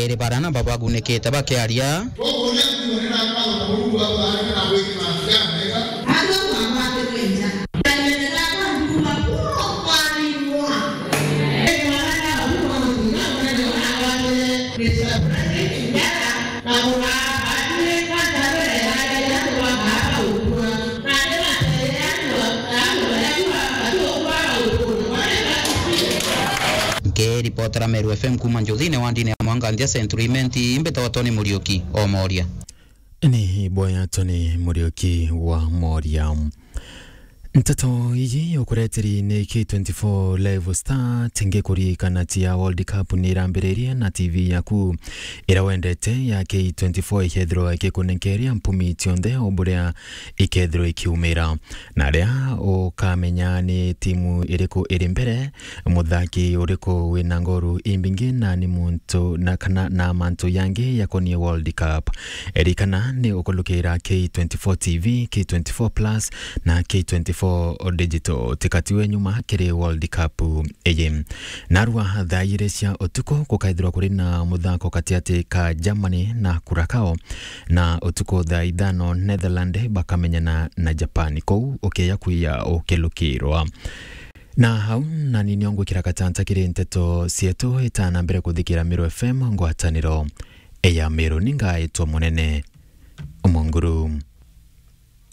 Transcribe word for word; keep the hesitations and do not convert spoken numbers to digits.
Iri bara na babagunikite bakiaria. Nkiripotera Meru F M kuuma Njuthine wandine ya Mwanganthia Central Imenti, mbitagwa Tony Muriuki o Moria. Ni boya Tony Muriuki wa Moria. Nteto iji ukureteri ni K twenty-four Live Star, tingi kuririkana ti ya World Cup ni irambiririe na T V yaku iria wendete ya K twenty-four ikethirwa ikikunenkeria mpumi cionthe o buria ikethirwa ikiumira. Na aria ukamenya ni timu iriku iri mbere, muthaki uriku wina ngoru imbingi, na ni muntu na kana na mantu yangi yakonie World Cup. Ririkana ni ukulukira K twenty-four T V, K twenty-four Plus na K twenty-four Digital. Tikatiwe nyuma kiri World Cup iji. Narua thaa igiri cia utuku gukaithirwa kuri na muthako katiati ka Germany na Curacao, na utuku thaa ithano Netherland bakamenyana na Japan. Kou ukeya kwiya ukilukirwa. Na hau nani nio ngwikira gatanta kiri nteto cietu itana mbere kuthikira Meru F M ngwataniro ya Meru. Ningaitwa Munene Munguru.